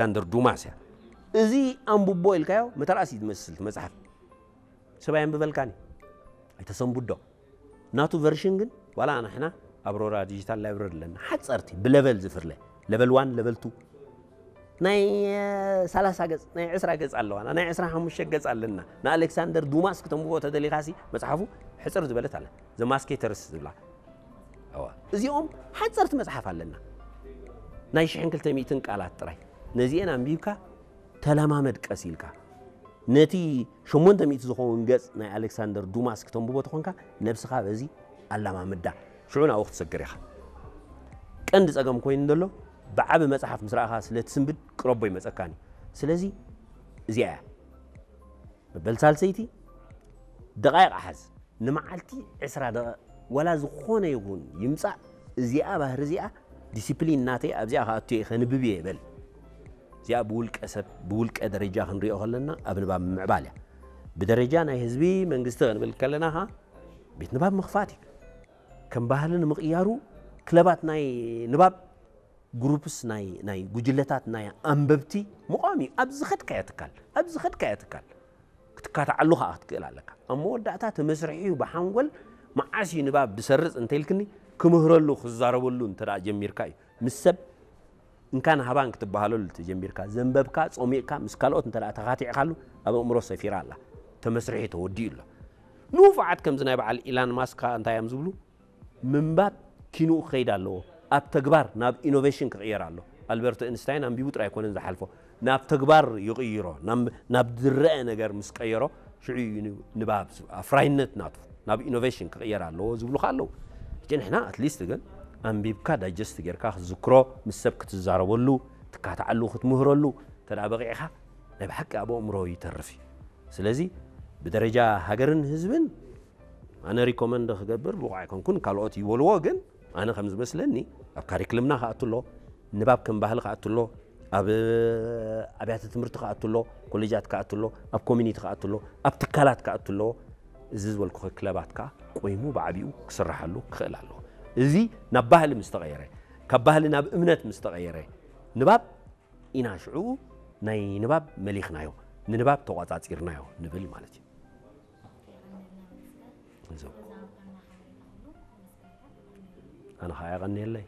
ኣሌክሳንደር ዱማስ እያ። እዚ ኣንብቦ ኢልካዮ መተርኣስ እዩ ዝመስል እቲ መጽሓፍ። ሰብ ኣየንብበልካን እዩ። ኣይተሰንብዶ። ናቱ ቨርሽን ግን ዋላ ንሕና ኣብ ሮራ ዲጂታል ላይብረሪ ኣለና። ሓጸርቲ ብለቨል ዝፍለ፣ ለቨል ዋን፣ ለቨል ቱ፣ ናይ ሰላሳ ገጽ፣ ናይ ዕስራ ገጽ ኣለዋና፣ ናይ ዕስራ ሓሙሽተ ገጽ ኣለና። ንኣሌክሳንደር ዱማስ ክተንብቦ ተደሊኻሲ መጽሓፉ ሕጽር ዝበለት ኣለ፣ ዘ ማስኬተርስ ዝብላ። እዋ፣ እዚኦም ሓጸርቲ መጽሓፍ ኣለና፣ ናይ ሽሕን ክልተ ሚእትን ቃላት ጥራይ። ነዚአን ኣንቢብካ ተለማመድ ቀስ ኢልካ። ነቲ ሸሞንተ ሚእቲ ዝኸውን ገጽ ናይ ኣሌክሳንደር ዱማስ ክተንብቦ ተኾንካ፣ ነብስኻ በዚ ኣላማምዳ። ሽዑ ናብኡ ክትሰግር ኢኻ። ቀንዲ ጸገም ኮይኑ ዘሎ፣ ብዓቢ መጽሓፍ ምስ ረኣኻ ስለ ትስንብድ ቅረቦ ይመጸካን እዩ። ስለዚ እዚኣ እያ። መበል ሳልሰይቲ ደቓይቕ ሓዝ። ንመዓልቲ ዕስራ ደቓ-፣ ዋላ ዝኾነ ይኹን ይምጻእ፣ እዚኣ ባህሪ እዚኣ ዲሲፕሊን ናተይ ኣብዚኣ ክኣቱ እየ፣ ከንብብ እየ በል። እዚኣ ብውልቀ ሰብ፣ ብውልቀ ደረጃ ክንሪኦ ከለና ኣብ ንባብ ምምዕባል እያ። ብደረጃ ናይ ህዝቢ መንግስቲ ክንብል ከለና ኸኣ ቤት ንባብ ምኽፋት እዩ። ከም ባህሊ ንምቕያሩ ክለባት ናይ ንባብ፣ ግሩፕስ ናይ፣ ናይ ጉጅለታት ናይ ኣንበብቲ ምቋም እዩ። ኣብ ዝኸድካዮ ትካል፣ ኣብ ዝኸድካዮ ትካል ክትካትዓሉ ኸኣ ክትክእል ኣለካ። ኣብ መወዳእታ እቲ መስርሒ እዩ ብሓንጎል መዓስ እዩ ንባብ ዝሰርጽ እንተኢልክኒ፣ ክምህረሉ፣ ክዛረበሉ እንተ ደኣ ጀሚርካ እዩ። ምስ ሰብ እንካን ሃባን ክትበሃለሉ ተጀሚርካ፣ ዘንበብካ፣ ጾሚቕካ፣ ምስ ካልኦት እንተ ደኣ ተኻቲዕካሉ፣ ኣብ ኣእምሮ ሰፊራ ኣላ። እቲ መስርሒ ተወዲኡ ኣሎ። ንፉዓት ከምዚ ናይ በዓል ኢላን ማስክ ከኣ እንታይ እዮም ዝብሉ? ምንባብ ኪንኡ ክኸይድ ኣለዎ። ኣብ ተግባር ናብ ኢኖቬሽን ክቕየር ኣሎ። ኣልበርት ኤንስታይን ኣንቢቡ ጥራይ ኣይኮነን ዝሓልፎ፣ ናብ ተግባር ይቕይሮ። ናብ፣ ናብ ዝረአ ነገር ምስ ቀየሮ፣ ሽዑ እዩ ን-፣ ንባብ ዝ-፣ ኣፍራይነት ናቱ ናብ ኢኖቬሽን ክቕየር ኣለዎ ዝብሉ ከኣ ኣለዉ። ሕጂ ንሕና ኣትሊስት ግን ኣንቢብካ ዳይጀስት ጌርካ ክትዝክሮ፣ ምስ ሰብ ክትዛረበሉ፣ ትካትዓሉ፣ ክትምህረሉ እንተ ደኣ በቒዕኻ፣ ናይ ብሓቂ ኣብ ኣእምሮ ይተርፍ እዩ። ስለዚ ብደረጃ ሃገርን ህዝብን ኣነ ሪኮመንድ ክገብር ብቑዕ ኣይኮንኩን፣ ካልኦት ይበልዎ፣ ግን ኣነ ከም ዝመስለኒ ኣብ ካሪክልምና ክኣቱ ኣሎ፣ ንባብ ከም ባህሊ ክኣቱ ኣሎ፣ ኣብ ኣብያተ ትምህርቲ ክኣቱ ኣሎ፣ ኮሌጃት ክኣቱ ኣሎ፣ ኣብ ኮሚኒቲ ክኣቱ ኣሎ፣ ኣብ ትካላት ክኣቱ ኣለዎ። እዚ ዝበልኩኸ ክለባት ከኣ ቆይሙ ብዓቢኡ ክስርሓሉ ክኽእል ኣለዎ። እዚ ናብ ባህሊ ምስ ተቐየረ፣ ካብ ባህሊ ናብ እምነት ምስ ተቐየረ፣ ንባብ ኢና ሽዑ ናይ ንባብ መሊኽናዮ፣ ንንባብ ተቖጻጺርናዮ ንብል ማለት እዩ። እዞም። ኣነ ኸዓ የቐንየለይ።